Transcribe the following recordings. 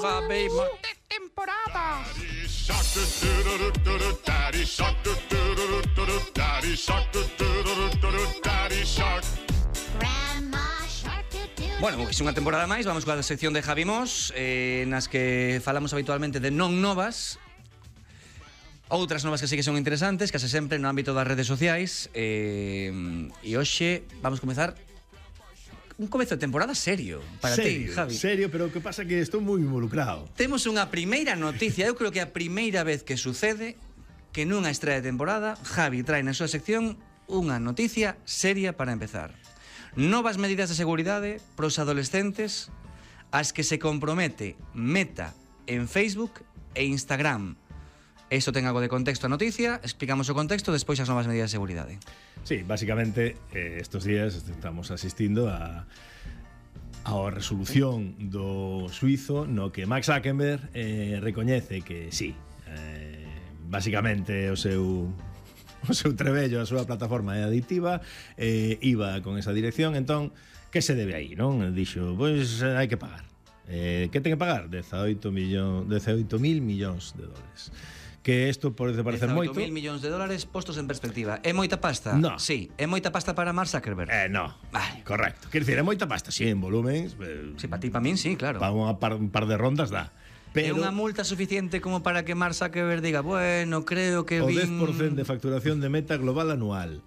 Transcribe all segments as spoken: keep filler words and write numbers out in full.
Javi Mos de temporada. Bueno, é unha temporada máis, vamos coa sección de Javi Mos, eh, nas que falamos habitualmente de non novas, outras novas que sí que son interesantes, case sempre no ámbito das redes sociais, eh, e hoxe vamos comezar un comezo de temporada serio para serio, ti, Javi. Serio, pero o que pasa é que estou moi involucrado. Temos unha primeira noticia, eu creo que a primeira vez que sucede que nunha estrea de temporada Javi trae na súa sección unha noticia seria para empezar. Novas medidas de seguridade pros adolescentes as que se compromete Meta en Facebook e Instagram. Isto ten algo de contexto a noticia, explicamos o contexto, despois as novas medidas de seguridade. Sí, básicamente eh, estos días estamos asistindo a a resolución do suizo no que Mark Zuckerberg eh, recoñece que sí, eh, básicamente o seu o seu trebello, a súa plataforma é adictiva, eh, iba con esa dirección, entón, que se debe aí, non? Dixo, pois hai que pagar. Eh, que ten que pagar? dezaoito mil millóns de dólares. Que isto pode parecer moito. dezaoito mil millóns de dólares postos en perspectiva. É moita pasta? No. Sí, é moita pasta para Mark Zuckerberg. Eh, no. Vale. Correcto. Quer dicir, é moita pasta, sí, en volúmenes. Eh, Sí, para ti, para min, sí, claro. Para un par, un par de rondas dá. É Pero unha multa suficiente como para que Mark Zuckerberg diga, bueno, creo que o vin... dez por cento de facturación de Meta global anual.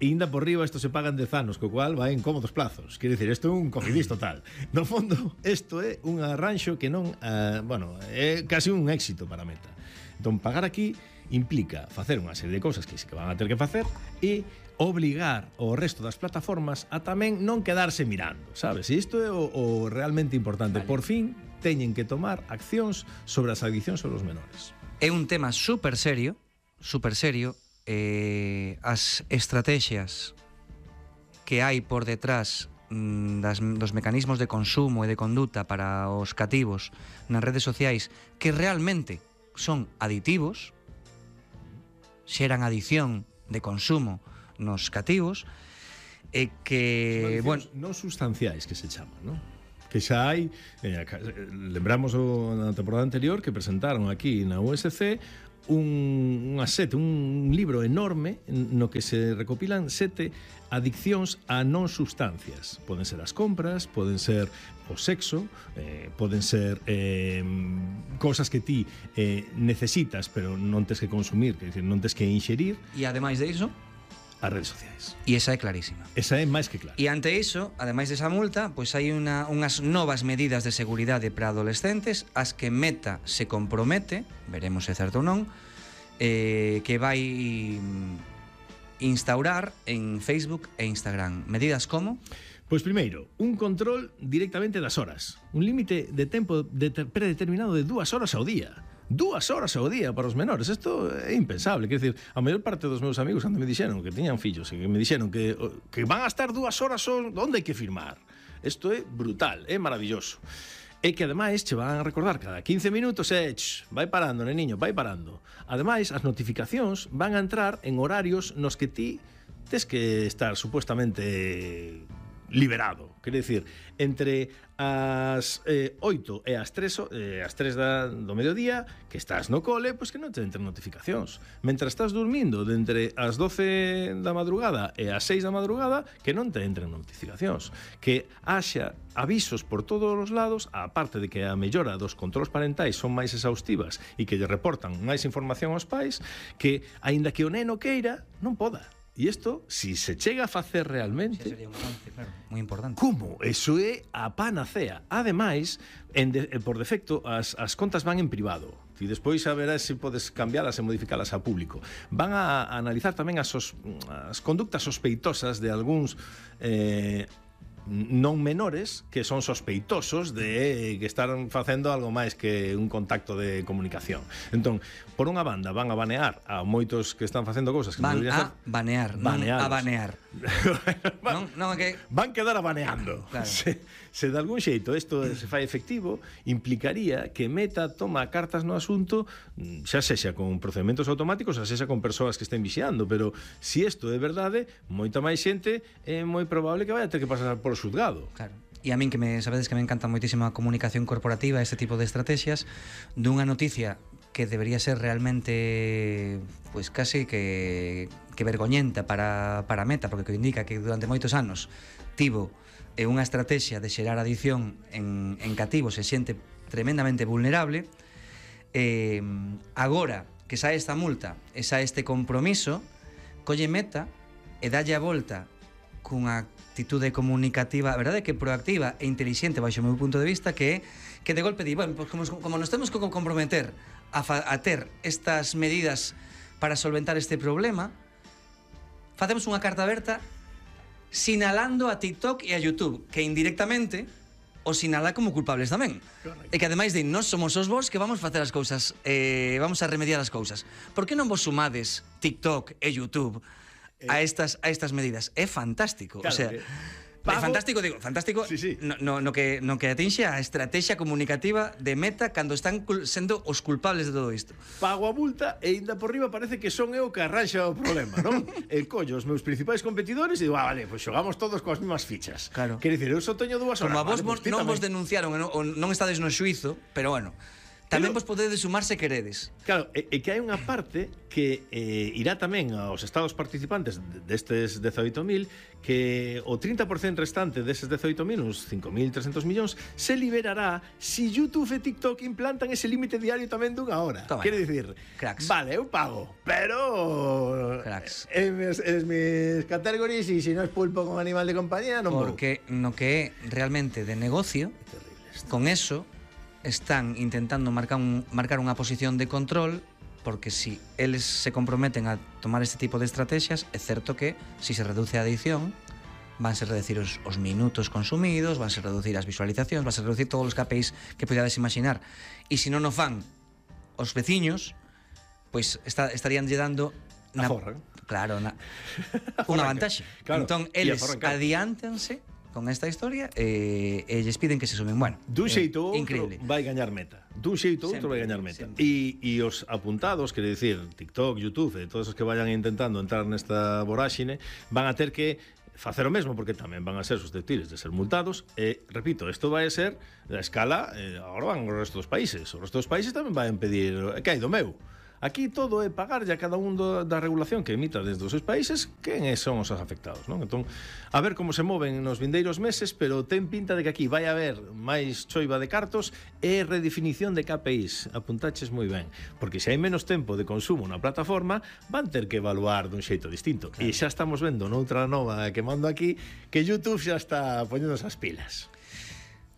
E ainda por riba isto se paga en dez anos, co cual vai en cómodos plazos. Quer dicir, isto é un cogidís total. No fondo, isto é un arranxo que non, uh, bueno, é casi un éxito para Meta. Entón, pagar aquí implica facer unha serie de cousas que sí que van a ter que facer e obligar o resto das plataformas a tamén non quedarse mirando, sabes? E isto é o, o realmente importante. Vale. Por fin, teñen que tomar accións sobre as adiccións sobre os menores. É un tema super serio, super serio, eh, as estrategias que hai por detrás mm, das, dos mecanismos de consumo e de conduta para os cativos nas redes sociais que realmente son aditivos, xeran adición de consumo nos cativos, e que, bueno, non sustanciais que se chaman, non? Que xa hai, eh, lembramos o, na temporada anterior que presentaron aquí na U S C un, unha sete, un libro enorme no que se recopilan sete adiccións a non sustancias. Poden ser as compras, poden ser o sexo, eh, poden ser eh, cosas que ti eh, necesitas pero non tes que consumir, que decir, non tes que inxerir. e ademais de iso, as redes sociais. e esa é clarísima. Esa é máis que clara. E ante iso, ademais desa multa, pois hai unha, unhas novas medidas de seguridade para adolescentes as que Meta se compromete, veremos se é certo ou non, eh, que vai instaurar en Facebook e Instagram. Medidas como? Pois primeiro, un control directamente das horas. Un límite de tempo de predeterminado de dúas horas ao día. Dúas horas ao día para os menores. Isto é impensable. Quer dicir, a maior parte dos meus amigos cando me dixeron que tiñan fillos e que me dixeron que, que van a estar dúas horas onde hai que firmar. Isto é brutal, é maravilloso. E que ademais che van a recordar cada quince minutos e ch, vai parando, neniño, vai parando. Ademais, as notificacións van a entrar en horarios nos que ti tes que estar supuestamente liberado. Quer dicir, entre as eh, oito e as tres, eh, as tres da, do mediodía que estás no cole, pois que non te entren notificacións. Mentre estás dormindo de entre as doce da madrugada e as seis da madrugada, que non te entren notificacións. Que haxa avisos por todos os lados, a parte de que a mellora dos controls parentais son máis exhaustivas e que lle reportan máis información aos pais, que, aínda que o neno queira, non poda. E isto, si se chega a facer realmente... Sí, sería un avance, claro, moi importante. Como? Eso é a panacea. Ademais, en de, por defecto, as, as contas van en privado. E despois a verás se podes cambialas e modificalas a público. Van a, a analizar tamén as, sos, as conductas sospeitosas de algúns... Eh, non menores que son sospeitosos de que están facendo algo máis que un contacto de comunicación. Entón, por unha banda van a banear a moitos que están facendo cousas que van non a ser... banear, non a banear. van, non, non que van quedar a baneando. Claro. Se, se de algún xeito isto se fai efectivo, implicaría que Meta toma cartas no asunto, xa sexa con procedementos automáticos, xa sexa con persoas que estén vixiando, pero se si isto é verdade, moita máis xente é moi probable que vai a ter que pasar por xuzgado. Claro. e a min que me sabedes que me encanta moitísimo a comunicación corporativa, este tipo de estrategias, dunha noticia que debería ser realmente pues casi que, que vergoñenta para, para Meta, porque que indica que durante moitos anos tivo eh, unha estrategia de xerar adicción en, en cativos e xente tremendamente vulnerable. Eh, agora que sae esta multa e sae este compromiso, colle Meta e dalle a volta cunha actitude comunicativa, a verdade é que proactiva e inteligente baixo o meu punto de vista, que que de golpe di, bueno, pues como, como nos temos que comprometer a, fa, a ter estas medidas para solventar este problema, facemos unha carta aberta sinalando a TikTok e a YouTube, que indirectamente o sinala como culpables tamén. Correcto. E que ademais de nós somos os vos que vamos facer as cousas, eh, vamos a remediar as cousas. Por que non vos sumades TikTok e YouTube a estas a estas medidas? É fantástico, claro, o sea, é fantástico, digo, fantástico, sí, sí. No, no, no que no que atinxe a estrategia comunicativa de Meta cando están sendo os culpables de todo isto. Pago a multa e ainda por riba parece que son eu que arranxa o problema, non? E collo os meus principais competidores e digo, ah, vale, pois pues xogamos todos coas mesmas fichas. Claro. Quer dicir, eu só teño dúas horas. Como a vos vale, pues non vos denunciaron, non, non estades no xuizo, pero bueno, tamén vos podedes sumar se queredes. Claro, e, e que hai unha parte que eh, irá tamén aos estados participantes destes dezaoito mil, que o trinta por cento restante deses dezaoito mil, uns cinco mil trescentos millóns, se liberará si YouTube e TikTok implantan ese límite diario tamén dunha hora. Toma. Quere dicir, cracks. Vale, eu pago, pero cracks. En mes, en mis categories e se non es pulpo con animal de compañía non vou. Porque no que é realmente de negocio, con eso están intentando marcar, un, marcar unha posición de control, porque si eles se comprometen a tomar este tipo de estrategias, é certo que si se reduce a adicción, vanse reducir os, os minutos consumidos, vanse reducir as visualizacións, vanse reducir todos os K P Is que podades imaginar. E se non o fan os veciños, pois está, estarían lle dando na, aforran. Claro, na, unha vantaxe. Claro. Entón, eles adiántense con esta historia e eh, lles piden que se sumen. Bueno, dun xeito eh, outro vai gañar Meta. Dun xeito outro vai gañar Meta. E, e os apuntados, quere dicir, TikTok, YouTube, e todos os que vayan intentando entrar nesta voráxine, van a ter que facer o mesmo, porque tamén van a ser susceptibles de ser multados. E, repito, isto vai a ser a escala, eh, agora van o resto dos países. O resto dos países tamén vai a impedir, que hai do meu? Aquí todo é pagarlle a cada un do, da regulación que emita desde os seus países quen son os afectados, non? Entón, a ver como se moven nos vindeiros meses, pero ten pinta de que aquí vai haber máis choiva de cartos e redefinición de K P Is. Apuntaches moi ben, porque se hai menos tempo de consumo na plataforma, van ter que evaluar dun xeito distinto. Claro. E xa estamos vendo noutra nova que mando aquí que YouTube xa está poñendo as pilas.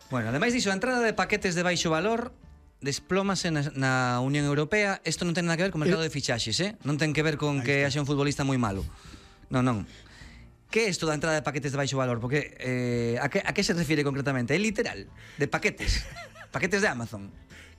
Bueno, ademais diso, a entrada de paquetes de baixo valor desplómase na, na Unión Europea. Isto non ten nada que ver co mercado de fichaxes, eh? Non ten que ver con que haxa un futbolista moi malo. Non, non. Que é isto da entrada de paquetes de baixo valor? Porque eh, a, que, a que se refire concretamente? É literal, de paquetes. Paquetes de Amazon.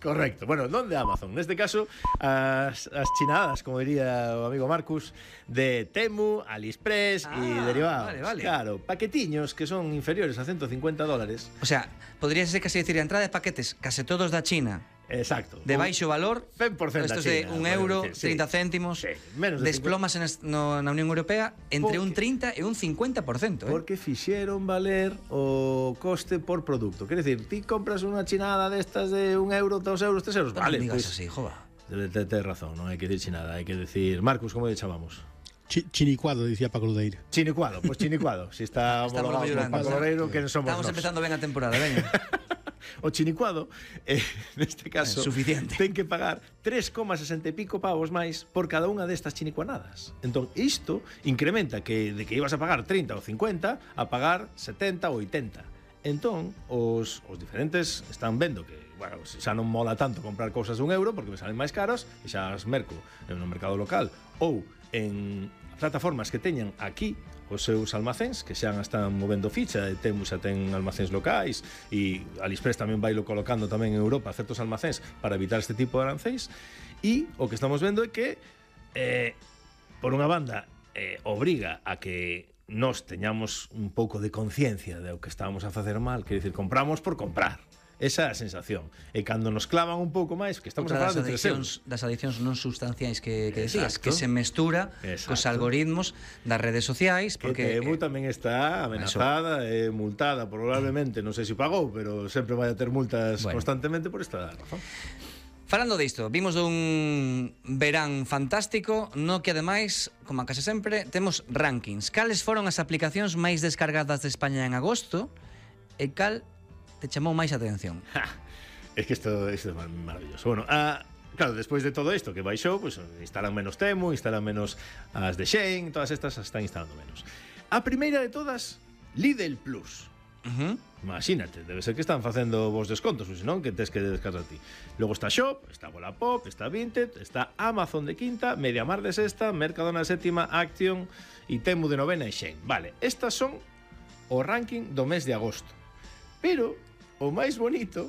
Correcto. Bueno, non de Amazon. Neste caso, as, as chinadas, como diría o amigo Marcus, de Temu, AliExpress e ah, derivados. Vale, vale. Claro, paquetiños que son inferiores a ciento cincuenta dólares. O sea, podría ser casi decir a entrada de paquetes case todos da China. Exacto. De baixo valor, cen por cento estos de un euro, decir, trinta sí. céntimos, sí. Menos de desplomas en no, na Unión Europea entre porque, un trinta e un cincuenta por cento. Eh? Porque fixeron valer o coste por produto. Quer decir, ti compras unha chinada destas de un euro, dos euros, tres euros. No vale, digas pues, así, jova. Tens razón, non hai que decir chinada, hai que decir... Marcus, como lle chamamos? Ch chinicuado, dicía Paco Ludeiro. Chinicuado, pois pues chinicuado. Si está homologado por Paco Ludeiro, que somos Estamos nos. empezando ben a temporada, veña. O chinicuado, eh, neste caso, é suficiente. Ten que pagar tres coma sesenta e pico pavos máis por cada unha destas chinicuanadas. Entón, isto incrementa que de que ibas a pagar trinta ou cincuenta a pagar setenta ou oitenta. Entón, os, os diferentes están vendo que, bueno, xa non mola tanto comprar cousas de un euro porque me salen máis caros e xa as merco no mercado local ou en plataformas que teñan aquí os seus almacéns, que xa están movendo ficha, e Temu xa ten almacéns locais e AliExpress tamén vai lo colocando tamén en Europa certos almacéns para evitar este tipo de arancéis. E o que estamos vendo é que eh, por unha banda eh, obriga a que nós teñamos un pouco de conciencia de o que estábamos a facer mal, quer dicir, compramos por comprar. esa sensación. E cando nos clavan un pouco máis, que estamos Outra a falar das de tres adiccións, euros. das adiccións non sustanciais que, que decías, Exacto. que se mestura Exacto. cos algoritmos das redes sociais, Que porque Temu tamén está amenazada e multada, probablemente, non sei se pagou, pero sempre vai a ter multas Bueno. constantemente por esta razón. falando disto, vimos un verán fantástico no que ademais, como a case sempre, temos rankings. Cales foron as aplicacións máis descargadas de España en agosto e cal te chamou máis a atención? Ja, es que isto, isto é maravilloso. Bueno, a, claro, despois de todo isto que baixou, pues, instalan menos Temu, instalan menos as de Shein, todas estas as están instalando menos. A primeira de todas, Lidl Plus. Uh -huh. Imagínate, debe ser que están facendo vos descontos, ou senón que tes que descargar ti. Logo está Shop, está Wallapop, está Vinted, está Amazon de quinta, Mediamar de sexta, Mercadona de sétima, Action e Temu de novena e Shein. Vale, estas son o ranking do mes de agosto. Pero o máis bonito,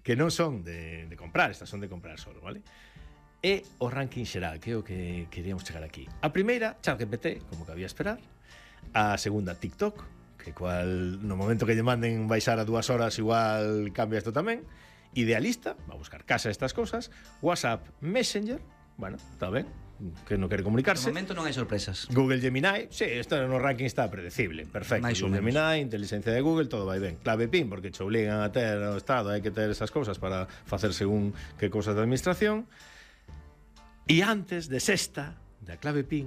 que non son de, de comprar, estas son de comprar solo, vale? É o ranking xeral, que é o que queríamos chegar aquí. A primeira, ChatGPT, como que había esperar. A segunda, TikTok, que cual no momento que lle manden baixar a dúas horas igual cambia isto tamén. Idealista, va a buscar casa estas cosas. WhatsApp, Messenger, bueno, está ben, que non quere De comunicarse. momento non hai sorpresas. Google Gemini, sí, isto no ranking está predecible, perfecto. Mais ou Google menos. Gemini, inteligencia de Google, todo vai ben. Clave PIN, porque che obligan a ter o Estado, hai que ter esas cousas para facer según que cousas de administración. E antes de sexta, da clave PIN,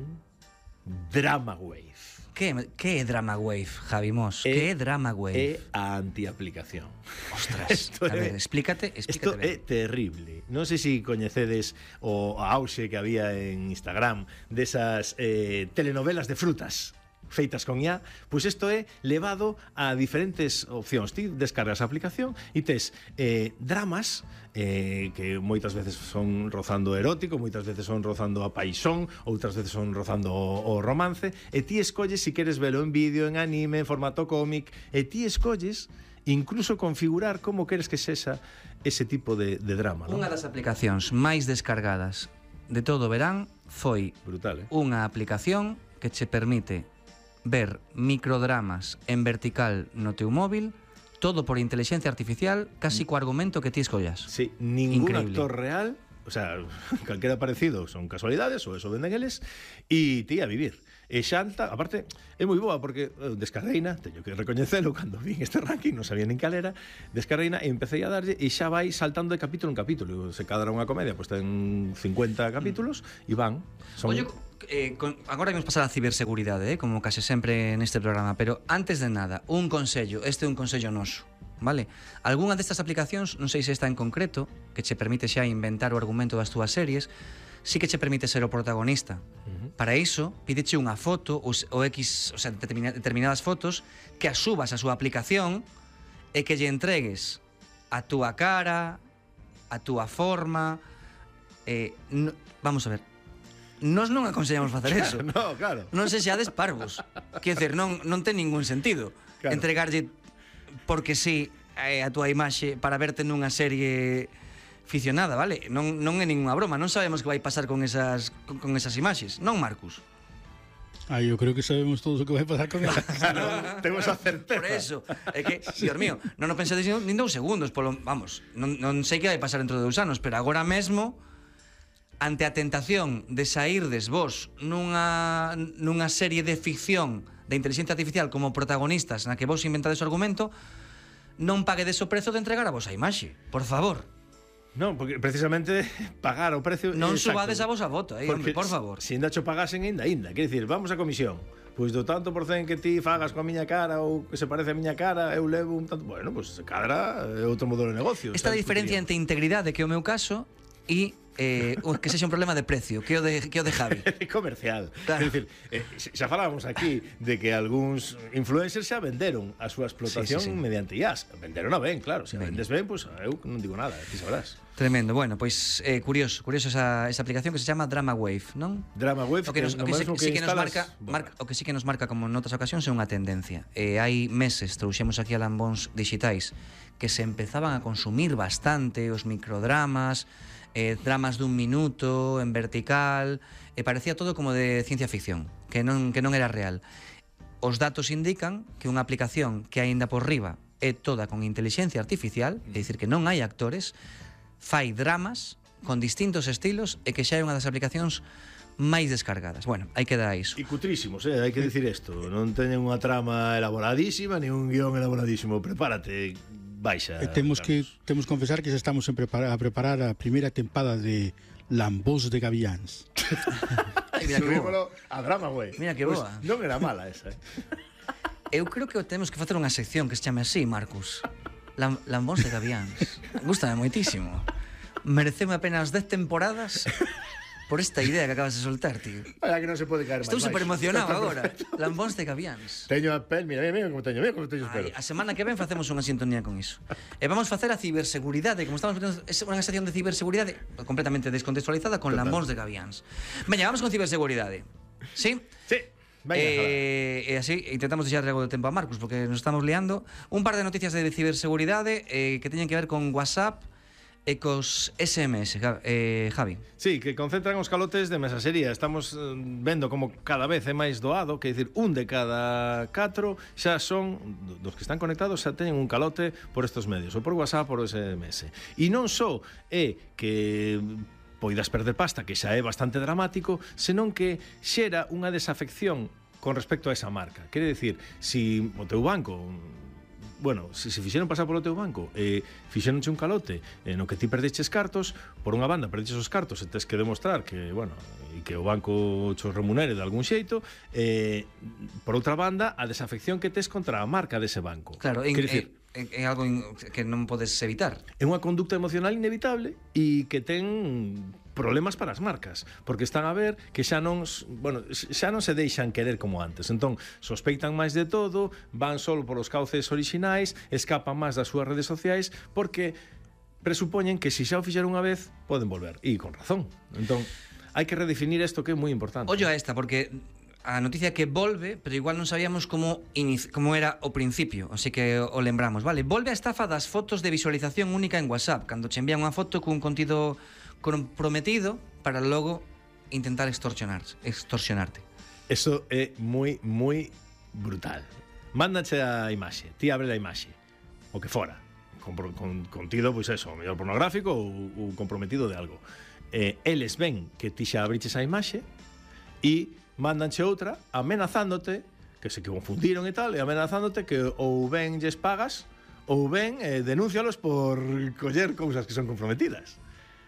Drama Wave. Que, que é Drama Wave, Javi Mos? É- Que é Drama Wave? É a antiaplicación. Ostras, Esto a ver, é- explícate, Isto explícate é terrible. Non sei se coñecedes o auxe que había en Instagram desas eh, telenovelas de frutas feitas con I A, pois isto é levado a diferentes opcións. Ti descargas a aplicación e tes eh, dramas eh, que moitas veces son rozando erótico, moitas veces son rozando a paixón, outras veces son rozando o, o romance, e ti escolles se queres velo en vídeo, en anime, en formato cómic, e ti escolles incluso configurar como queres que sexa ese tipo de, de drama, non? Unha das aplicacións máis descargadas de todo o verán foi Brutal, eh? unha aplicación que che permite ver microdramas en vertical no teu móvil, todo por inteligencia artificial, casi co argumento que ti escollas. Sí, ningún Increíble. actor real, o sea, calquera parecido son casualidades, ou eso venden eles, e ti a vivir. E xanta, aparte, é moi boa porque eh, descarreina, teño que recoñecelo, cando vin este ranking, non sabía nin cal era, descarreina e empecé a darlle e xa vai saltando de capítulo en capítulo. Se cada unha comedia, pois pues, ten cincuenta capítulos e van. Son... Oye, eh, con, agora imos pasar a ciberseguridade, eh, como case sempre neste programa, pero antes de nada, un consello, este é un consello noso, vale? Algúna destas aplicacións, non sei se esta en concreto, que che permite xa inventar o argumento das túas series, sí que che permite ser o protagonista. Uh-huh. Para iso, pídeche unha foto ou, ou X, o sea, determina, determinadas fotos que as subas a súa aplicación e que lle entregues a túa cara, a túa forma. Eh, no, vamos a ver. Nós non aconsellamos facer eso. No, claro. Non se xades parvos. Quer dizer, non, non ten ningún sentido Claro. entregarlle porque sí eh, a túa imaxe para verte nunha serie ficcionada, vale? Non, non é ninguna broma, non sabemos que vai pasar con esas, con, con esas imaxes, non, Marcus? Ah, yo creo que sabemos todos o que vai pasar con ela. No, temos a certeza. Por eso, é que, Dios mío, non o pensades nin dous segundos, polo, vamos, non, non sei que vai pasar dentro de dous anos, pero agora mesmo, ante a tentación de saírdes vos nunha, nunha serie de ficción de inteligencia artificial como protagonistas na que vos inventades o argumento, non paguedes o prezo de entregar a vosa imaxe, por favor. Non, porque precisamente pagar o precio... Non exacto. subades a vosa voto, eh, hombre, por favor. Se ainda cho pagasen, ainda, ainda. Quer dicir, vamos a comisión. Pois do tanto por cen que ti fagas coa miña cara ou que se parece a miña cara, eu levo un tanto... Bueno, pois se cadra é outro modelo de negocio. Esta sabes, diferencia entre integridade, que é o meu caso, e eh, o que sexa un problema de precio, que é o de, que é o de Javi. comercial. Claro. Quer dicir, eh, xa falábamos aquí de que algúns influencers xa venderon a súa explotación Sí, sí, sí. mediante I A S. Venderon a ben, claro. Se Ben. vendes ben, pois eu non digo nada, ti sabrás. Tremendo. Bueno, pois eh, curioso, curioso esa, esa aplicación que se chama Drama Wave, non? Drama Wave, O que, nos, o no que, sí, mesmo sí que nos instalas, marca, bueno. marca o que sí que nos marca como noutras ocasións é unha tendencia. Eh, hai meses trouxemos aquí a lambóns digitais que se empezaban a consumir bastante os microdramas, eh, dramas dun minuto en vertical, e parecía todo como de ciencia ficción, que non que non era real. Os datos indican que unha aplicación que aínda por riba é toda con inteligencia artificial, é dicir, que non hai actores, fai dramas con distintos estilos e que xa é unha das aplicacións máis descargadas. Bueno, aí queda iso. E cutrísimos, eh? Hai que dicir isto. Non teñen unha trama elaboradísima, ni un guión elaboradísimo. Prepárate, baixa. E temos que Carlos. temos que confesar que xa estamos en prepara, a preparar a primeira tempada de Lambós de Gaviáns. Ay, mira que boa. Subímolo a drama, güey. Mira que Pues boa. non era mala esa, eh? Eu creo que temos que facer unha sección que se chame así, Marcus. Lam Lambóns de Gaviáns. Gústame moitísimo. Mereceme apenas dez temporadas por esta idea que acabas de soltar, tío. Vaya que non se pode caer máis. Estou super emocionado Está agora. perfecto. Lambóns de Gaviáns. Teño a pel, mira, mira, mira como teño, mira como teño os Ai, pelos. a semana que ven facemos unha sintonía con iso. E vamos facer a ciberseguridade, como estamos facendo unha sección de ciberseguridade completamente descontextualizada con Total. Lambóns de Gaviáns. Veña, vamos con ciberseguridade. ¿Sí? Sí. Venga, eh, e así intentamos deixar algo de tempo a Marcus porque nos estamos liando. Un par de noticias de ciberseguridade eh, que teñen que ver con WhatsApp e cos S M S, eh, Javi. Sí, que concentran os calotes de mensaxería. Estamos eh, vendo como cada vez é máis doado, que é dicir, un de cada catro xa son, dos que están conectados, xa teñen un calote por estos medios, ou por WhatsApp, por S M S. E non só é que poidas perder pasta, que xa é bastante dramático, senón que xera unha desafección con respecto a esa marca. Quere dicir, si o teu banco, bueno, se se fixeron pasar polo teu banco e eh, fixeronche un calote eh, no que ti perdeches cartos, por unha banda perdeches os cartos e tes que demostrar que, bueno, e que o banco chos remunere de algún xeito, eh, por outra banda, a desafección que tes contra a marca dese banco. Claro, en, Quer dicir, é, é algo in, que non podes evitar. é unha conducta emocional inevitable e que ten problemas para as marcas, porque están a ver que xa non, bueno, xa non se deixan querer como antes. Entón, sospeitan máis de todo, van só polos cauces orixinais, escapan máis das súas redes sociais, porque presupoñen que se xa o fixeron unha vez, poden volver. E con razón. Entón, hai que redefinir isto que é moi importante. Ollo a esta, porque a noticia que volve, pero igual non sabíamos como, como era o principio, así que o lembramos, vale? Volve a estafa das fotos de visualización única en WhatsApp, cando che envían unha foto cun contido comprometido para logo intentar extorsionar, extorsionarte. Eso é moi, moi brutal. Mándache a imaxe, ti abre a imaxe, o que fora, con, con contido, pois eso, o mellor pornográfico ou, ou comprometido de algo. Eh, eles ven que ti xa abriches a imaxe e mándanche outra amenazándote que se confundiron e tal, e amenazándote que ou ben lles pagas ou ben eh, denúncialos por coller cousas que son comprometidas.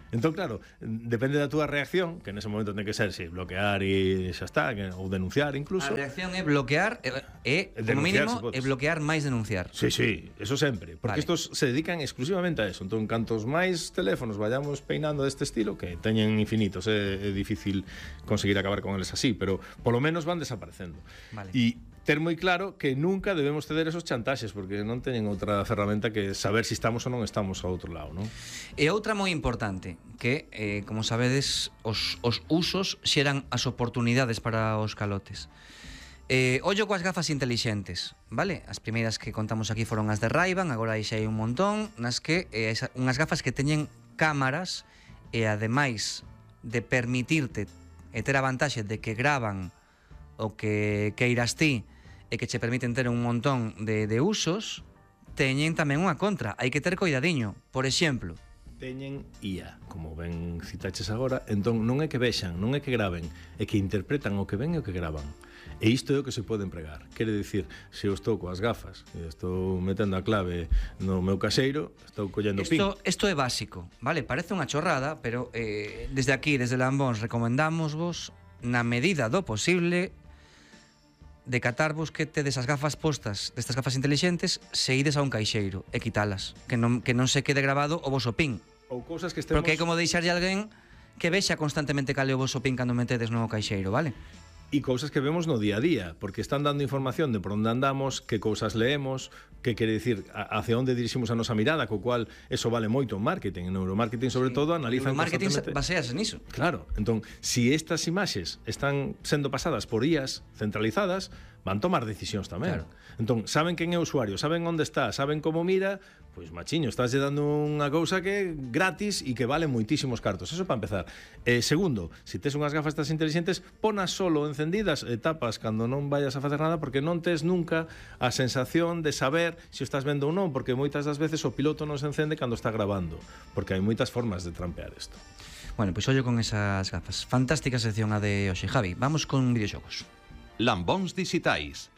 Entón, claro, depende da túa reacción, que nese momento ten que ser, si, bloquear e xa está, que, ou denunciar incluso. A reacción é bloquear e, e como mínimo, é bloquear máis denunciar. Sí, sí, eso sempre, porque vale. Estos se dedican exclusivamente a eso. Entón, cantos máis teléfonos vayamos peinando deste estilo, que teñen infinitos, é, é difícil conseguir acabar con eles así, pero polo menos van desaparecendo. Vale. E ter moi claro que nunca debemos ceder esos chantaxes, porque non teñen outra ferramenta que saber se si estamos ou non estamos ao outro lado, non? E outra moi importante, que, eh, como sabedes, os, os usos xeran as oportunidades para os calotes. Eh, ollo coas gafas intelixentes, vale? As primeiras que contamos aquí foron as de Ray-Ban, agora aí xa hai un montón, nas que eh, esa, unhas gafas que teñen cámaras e ademais de permitirte e ter a vantaxe de que gravan o que queiras ti e que che permiten ter un montón de, de usos, teñen tamén unha contra. Hai que ter coidadiño. Por exemplo, teñen I A, como ben citaches agora, entón non é que vexan, non é que graven, é que interpretan o que ven e o que gravan. E isto é o que se pode empregar. Quere dicir, se eu estou coas gafas e estou metendo a clave no meu caseiro, estou collendo pin. Isto, isto é básico, vale? Parece unha chorrada, pero eh, desde aquí, desde Lambóns, recomendamos vos, na medida do posible, decatarvos que tedes as gafas postas destas gafas intelixentes se ides a un caixeiro e quitalas, que non, que non se quede grabado o voso pin. Ou cousas que estemos... Porque é como deixarlle a alguén que vexa constantemente cale o voso pin cando metedes no caixeiro, vale? E cousas que vemos no día a día, porque están dando información de por onde andamos, que cousas leemos, que quere dicir hacia onde diriximos a nosa mirada, co cual eso vale moito en marketing, en neuromarketing sobre sí. todo analizan o marketing constantemente... basease niso. Claro, entón, si estas imaxes están sendo pasadas por I As centralizadas, van tomar decisións tamén. Claro. Entón, saben quen é o usuario, saben onde está, saben como mira, pois machiño, estás dando unha cousa que é gratis e que vale moitísimos cartos. Eso para empezar. Eh, segundo, se tes unhas gafas estas inteligentes, ponas solo encendidas e tapas cando non vayas a facer nada, porque non tes nunca a sensación de saber se o estás vendo ou non, porque moitas das veces o piloto non se encende cando está grabando, porque hai moitas formas de trampear isto. Bueno, pois ollo con esas gafas. Fantástica sección a de hoxe, Javi. Vamos con videoxogos. Lambóns dixitais.